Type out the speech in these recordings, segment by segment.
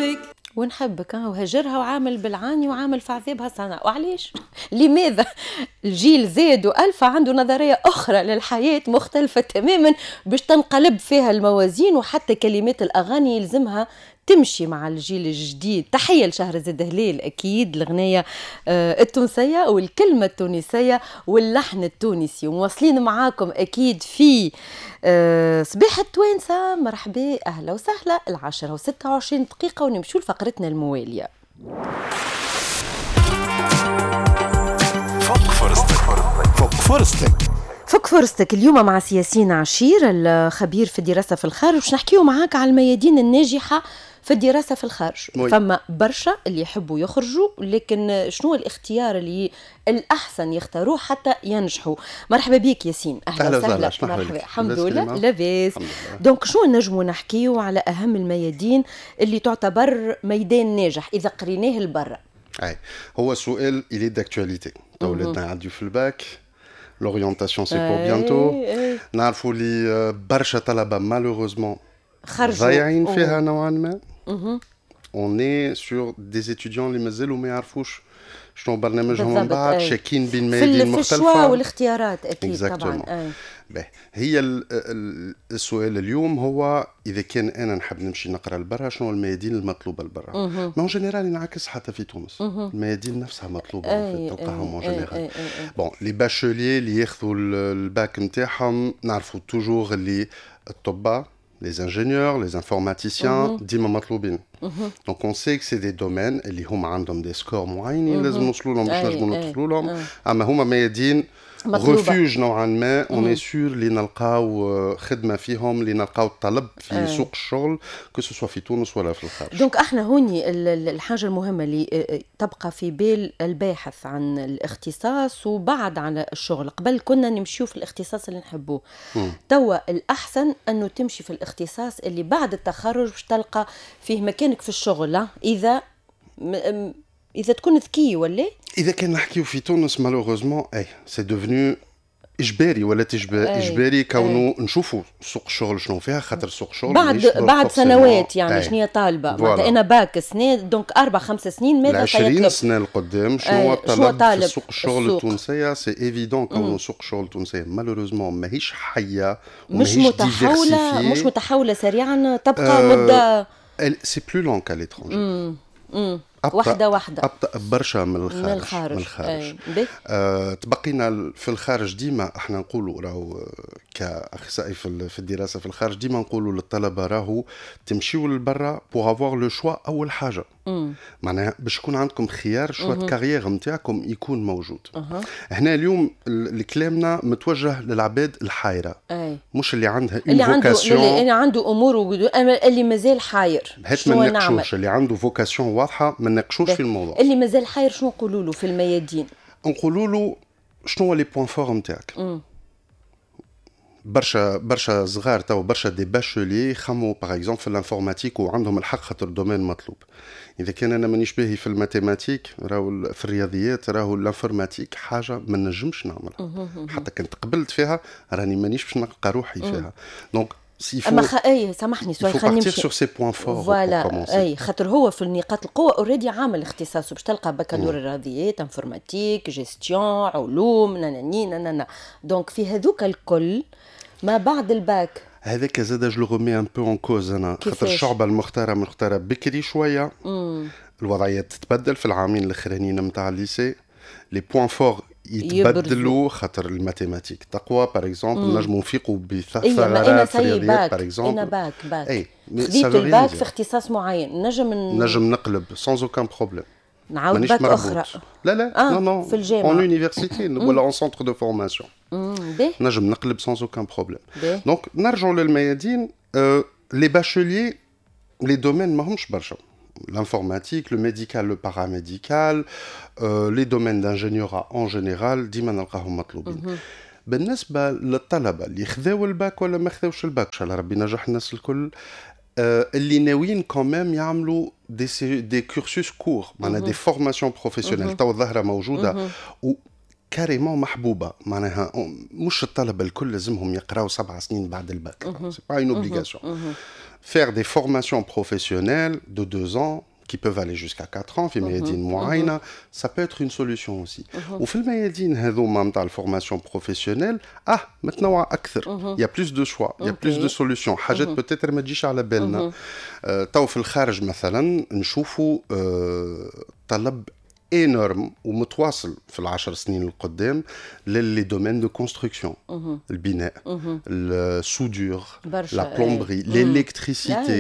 ونحبك ونحبك. وهجرها وعامل بالعاني وعامل في عذابها صنع. وعليش؟ لماذا؟ الجيل زاد وألفا عنده نظرية أخرى للحياة مختلفة تماما باش تنقلب فيها الموازين، وحتى كلمات الأغاني يلزمها تمشي مع الجيل الجديد. تحية لشهرزاد هلال، أكيد الغنية التونسية والكلمة التونسية واللحن التونسي. ومواصلين معاكم أكيد في صباح التوانسة. مرحبا، أهلا وسهلا. 10:26 ونمشوا لفقرتنا الموالية. فك فرصتك، فك فرصتك، فك فرصتك اليوم مع سي ياسين عشير الخبير في الدراسة في الخارج، باش نحكيو معاك على الميادين الناجحة في الدراسة في الخارج. فما برشا اللي يحبوا يخرجوا، لكن شنو الاختيار اللي الأحسن يختاروه حتى ينجحوا؟ مرحبا بك ياسين، أهلا وسهلا. مرحبا، الحمد لله لاباس. donc شنو نجموا نحكيو على أهم الميادين اللي تعتبر ميدان ناجح إذا قريناه لبرا؟ أي هو سؤال il est d'actualité. ولادنا يعديو في ال bac، l'orientation c'est pour bientôt. نعرفوا اللي برشا طلبة malheureusement خرجوا ضايعين فيها نوعا ما. On est sur des étudiants اللي مازالوا ما يعرفوش شنو برنامجهم من بعد، شاكين بين ميادين مختلفة في ال choix والاختيارات. أكيد طبعا. هي السؤال اليوم هو إذا كان أنا نحب نمشي نقرأ لبرا، شنو الميادين المطلوبة لبرا؟ mais en général ينعكس حتى في تونس، الميادين نفسها مطلوبة تلقاهم en général. bon les bacheliers اللي ياخذوا الباك نتاعهم نعرفوا toujours اللي الطباء، les ingénieurs, les informaticiens, ديما مطلوبين. Donc on sait que c'est des domaines اللي هما عندهم des scores معينين لازم نوصلوا لهم باش نجموا ندخلوا لهم، اما هما ميادين refuge نوعا ما. on est sûr اللي نلقاو خدمة فيهم، اللي نلقاو الطلب في سوق الشغل، que ce soit في تونس ولا في الخارج. donc احنا هوني الحاجة المهمة اللي تبقى في بال الباحث عن الاختصاص وبعد عن الشغل، قبل كنا نمشيو في الاختصاص اللي نحبوه، توا الاحسن انه تمشي في الاختصاص اللي بعد التخرج باش تلقى فيه مكانك في الشغل، اذا تكون ذكي ولا اذا كان نحكيو في تونس malheureusement اي c'est devenu اجباري ولا اجباري كونه نشوفوا سوق الشغل شنو فيها، خاطر سوق الشغل بعد سنوات يعني شنو هي طالبه. معناتها انا باك سنة، donc 4-5 سنين ماذا سيطلب 20 سنة القدام شنو الطلب في سوق الشغل التونسية. c'est évident كونه سوق الشغل التونسية malheureusement ماهيش حيه، مش متحوله، مش متحوله سريعا، تبقى مده c'est plus lent qu'à l'étranger. واحدة واحدة، أبطأ برشا من الخارج. من الخارج. تبقينا في الخارج ديما احنا نقولوا راهو كأخصائي في الدراسة في الخارج ديما نقولوا للطلبة راهو تمشيوا للبرا pour avoir le choix أول حاجة. معناها باش يكون عندكم خيار choix carrière نتاعكم يكون موجود. هنا اليوم كلامنا متوجه للعباد الحايرة. مش اللي عندها une vocation، اللي عنده امور، اللي مازال حاير. هات ما نناقشوش اللي عنده vocation واضحة، ما نناقشوش في الموضوع. اللي مازال حاير شنو نقولوا له في الميادين؟ نقولوا له شنو هو les points forts نتاعك. برشا برشا صغار تو برشا des bacheliers يخموا par exemple في l'informatique وعندهم الحق خاطر ال domaine مطلوب. اذا كان انا مانيش باهي في ال mathématiques راهو في الرياضيات راهو l'informatique حاجة ما نجمش نعملها، حتى كنت قبلت فيها راني مانيش باش نلقى روحي فيها. donc اما اي سامحني سؤال، خلينا نمشي sur ses points forts. voilà اي خاطر هو في النقاط القوة already عامل اختصاصه باش تلقى بكالوريا رياضيات، informatique، gestion، علوم، ناناني نانا. donc في هذوك الكل ما بعد الباك هذاك زاد je le remets un peu en cause انا، خاطر الشعبة المختارة مختاره بكري شوية. الوضعية تتبدل في العامين الاخرانيين نتاع ال lycée، les points forts يتبدلوا خاطر ال mathématiques تقوى par exemple، نجموا نفيقوا بثغرات في الرياضيات par exemple. انا باك اي خذيت الباك في اختصاص معين، نجم نقلب sans aucun problème، نعاود باك اخرى. لا لا non non في الجامعة en université ولا en centre de formation نجم نقلب sans aucun problème. donc نرجعوا للميادين. les bacheliers les domaines ماهمش برشا، l'informatique, le médical, le paramédical, les domaines d'ingénierat en général ديما نلقاهم مطلوبين. بالنسبة للطلبة اللي خذاو الباك ولا ما خذاوش الباك، ان شاء الله ربي ينجح الناس الكل، اللي ناويين quand même يعملوا des cursus courts، معناها des formations professionnelles، تو الظاهرة موجودة و carrément محبوبه، معناها مش الطلبة الكل لازمهم يقراو 7 سنين بعد ال bac، c'est pas une obligation. faire des formations professionnelles de 2 ans qui peuvent aller jusqu'à 4 ans في ميادين معينة، ça peut être une solution aussi. وفي الميادين هذوما نتاع ال formation professionnelle متنوعة أكثر، il y a plus de choix، il y a plus de solutions، حاجات peut-être ما تجيش على بالنا. تو في الخارج مثلا نشوفوا طلب énorme ومتواصل في ال10 سنين القدام ل les domaines de construction، البناء، ال soudure، la plomberie، l'électricité،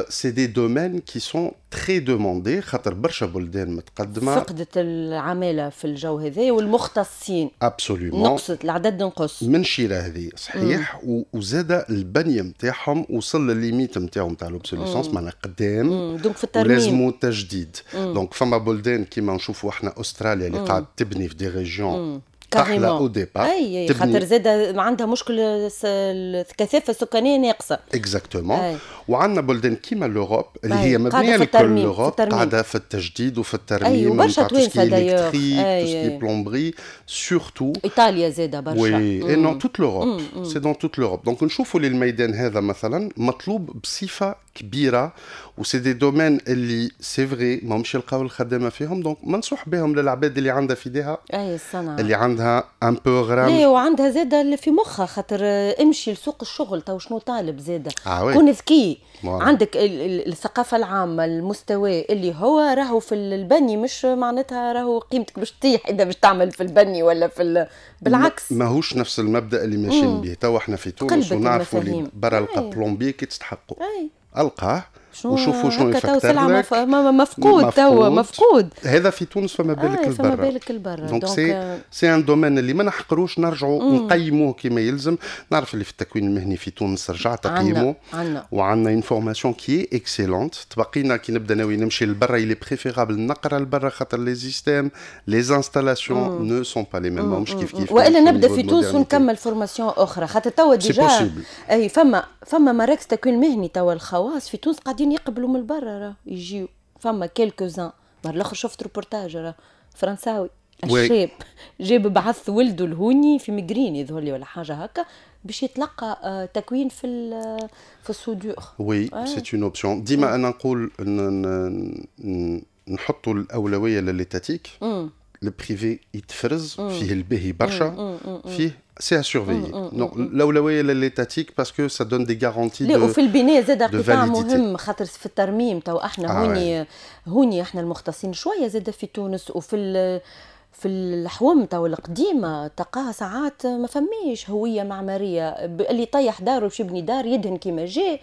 c'est des domaines qui sont très demandés خاطر برشا بلدان متقدمه. فقدت العمالة في الجو هذا والمختصين. absolument. نقصت، العدد نقص. من شيره هذه صحيح، وزاد البنية نتاعهم وصل للل limite نتاعو نتاع l'obsolescence، معناها قدام. donc في الترميم. ولازمو تجديد. donc فما بلدان كيما نشوفوا احنا استراليا اللي قاعد تبني في des régions تحلى au départ. اي، خاطر زاد عندها مشكل الكثافة السكانية ناقصه. exactement. وعندنا بلدان كيما l'Europe اللي هي مبنية لكل l'Europe قاعدة في التجديد وفي الترميم. وبرشا توانسة d'ailleurs، tout ce qui est plomberie surtout. ايطاليا زاده برشا. oui، et dans toute l'Europe، c'est dans toute l'Europe. donc نشوفوا اللي الميدان هذا مثلا مطلوب بصفة كبيره، و c'est des domaines اللي c'est vrai ماهمش يلقاو الخدامة فيهم، donc منصوح بهم للعباد اللي عندها في ايديها. اي، الصنعه. اللي عندها un peu غرام. لا، وعندها زاده اللي في مخها، خاطر امشي لسوق الشغل تو شنو طالب زاده. كون ذكي، عندك الثقافة العامه، المستوى اللي هو راهو في البني، مش معناتها راهو قيمتك باش تطيح اذا باش تعمل في البني ولا في بالعكس. ماهوش نفس المبدا اللي ماشيين به تو احنا في تونس، ونعرفوا اللي برا القى plombier كي تستحقوا القاه وشوفوا شنو يفكر لك. مفقود، توا مفقود. هذا في تونس، فما بالك البرا. فما بالك البرا. donc c'est un domaine اللي ما نحقروش، نرجعوا نقيموه كما يلزم. نعرف اللي في التكوين المهني في تونس رجع تقييمه، وعندنا une formation qui est excellente. تبقينا كي نبدا ناوي نمشي لبرا، il est préférable نقرا لبرا خاطر les systèmes، les installations ne sont pas les mêmes، مش كيف كيف. والا نبدا في تونس ونكمل formation اخرى، خاطر توا déjà اي فما مراكز تكوين مهني توا الخواص في تونس قاعدين يقبلوا من برا، يجيو فما quelques-uns. مرة الاخر شفت روبورتاج راه فرنساوي الشاب جاب بعث ولده الهوني في مقرين يظهر لي ولا حاجة هكا باش يتلقى تكوين في ال soudure. oui، c'est une option. ديما انا نقول نحطوا الاولوية ل l'étatique، ال privé يتفرز فيه الباهي برشا، فيه c'est à surveiller. Non، الاولوية ل l'étatique parce que ça donne des garanties. لا، وفي البناء زاد قطاع مهم، خاطر في الترميم تو احنا هوني هوني احنا المختصين شوية زاد في تونس، وفي في الحوم تو القديمة تلقاها ساعات ما فماش هوية معماريه، اللي طيح داره باش يبني دار يدهن كيما جاء.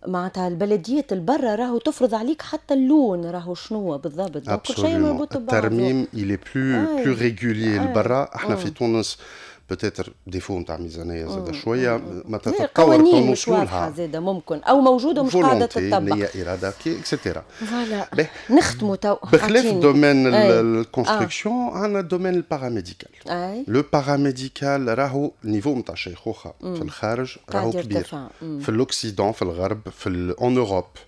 معناتها البلديات البرة راهو تفرض عليك حتى اللون راهو شنو بالضبط. كل شيء مربوط ببعضه. الترميم il est plus régulier البرا. احنا في تونس peut-être défaut نتاع ميزانية زاد شويه، ما تتطور. مش واضحة زاد ممكن او موجودة ومش قاعدة تطبق. نيه، اراده، et cetera. voilà، نختموا تو. بخلاف domaine ال construction عندنا domaine ال paramédical. le paramédical راهو niveau نتاع الشيخوخة في الخارج راهو كبير، في l'Occident، في الغرب، في en Europe،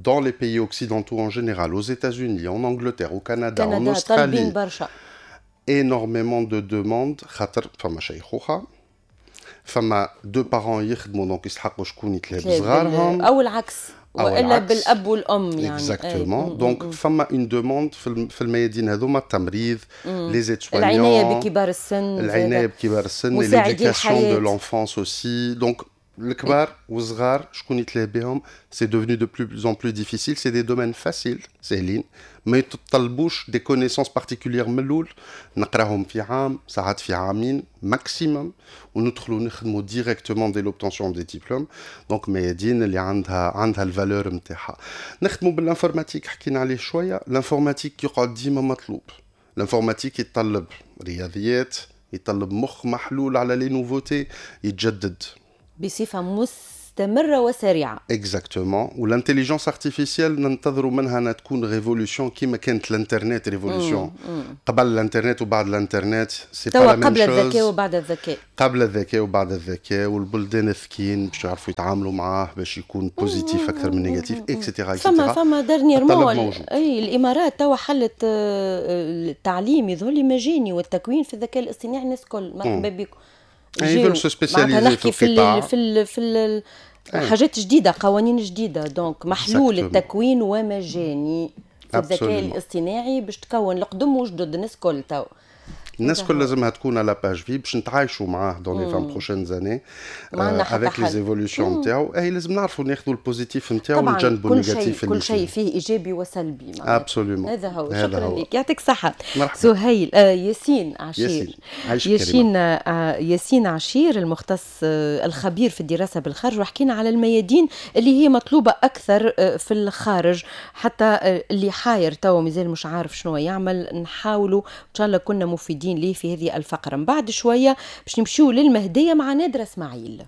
dans les pays occidentaux en général، aux États-Unis، en Angleterre، au Canada، en Australie. énormément de demandes خاطر فما شيخوخه، فما deux parents يخدموا، donc يستحقوا شكون يتلهى بصغارهم. او العكس، والا بالاب والام يعني. exactement. donc فما une demande في الميادين هذوما، التمريض، les aides-soignants، العناية بكبار السن. العناية بكبار السن، l'éducation de l'enfance aussi. donc الكبار والصغار شكون يتلهى بهم، c'est devenu de plus en plus difficile. c'est des domaines faciles، ساهلين، ما يتطلبوش des connaissances particulières من الاول، نقراهم في عام، ساعات في عامين maximum، وندخلوا نخدموا directement dès l'obtention des diplômes. donc ميادين اللي عندها ال valeur نتاعها. نخدموا بال informatique، حكينا عليه شويه. l'informatique يقعد ديما مطلوب. l'informatique يتطلب رياضيات، يطلب مخ محلول على les nouveautés، يتجدد بصفة مستمرة وسريعه. exactement. و l'intelligence artificielle ننتظروا منها انها تكون révolution كيما كانت الانترنت révolution، قبل الانترنت وبعد الانترنت c'est pas قبل الذكاء وبعد الذكاء. قبل الذكاء وبعد الذكاء، والبلدان الذكيين باش يعرفوا يتعاملوا معاه باش يكون positif اكثر من négatif، et cetera. فما dernièrement اي الامارات توا حلت التعليم يظهر لي مجاني والتكوين في الذكاء الاصطناعي، الناس الكل مرحبا بكم. ils veulent se spécialiser. نحكي في ال في ال في ال حاجات جديده، قوانين جديده، donc محلول التكوين ومجاني في الذكاء الاصطناعي باش تكون القدم وجدد، الناس كل تو. الناس كل لازمها تكون à la page فيه باش نتعايشوا معاه dans les 20 prochaines années avec les évolutions نتاعو. اي، لازم نعرفوا ناخذوا ال positif نتاعو ونجنبوا ال négatif. كل شيء فيه ايجابي وسلبي. absolument. هذا هو. شكرا لك، يعطيك الصحة سهيل، ياسين عشير. ياسين. ياسين عشير، المختص الخبير في الدراسة بالخارج، وحكينا على الميادين اللي هي مطلوبه اكثر في الخارج، حتى اللي حاير توا مازال مش عارف شنو يعمل، نحاولوا ان شاء الله كنا مفيدين ليه في هذه الفقرة. من بعد شوية باش نمشيو للمهدية مع نادرة اسماعيل.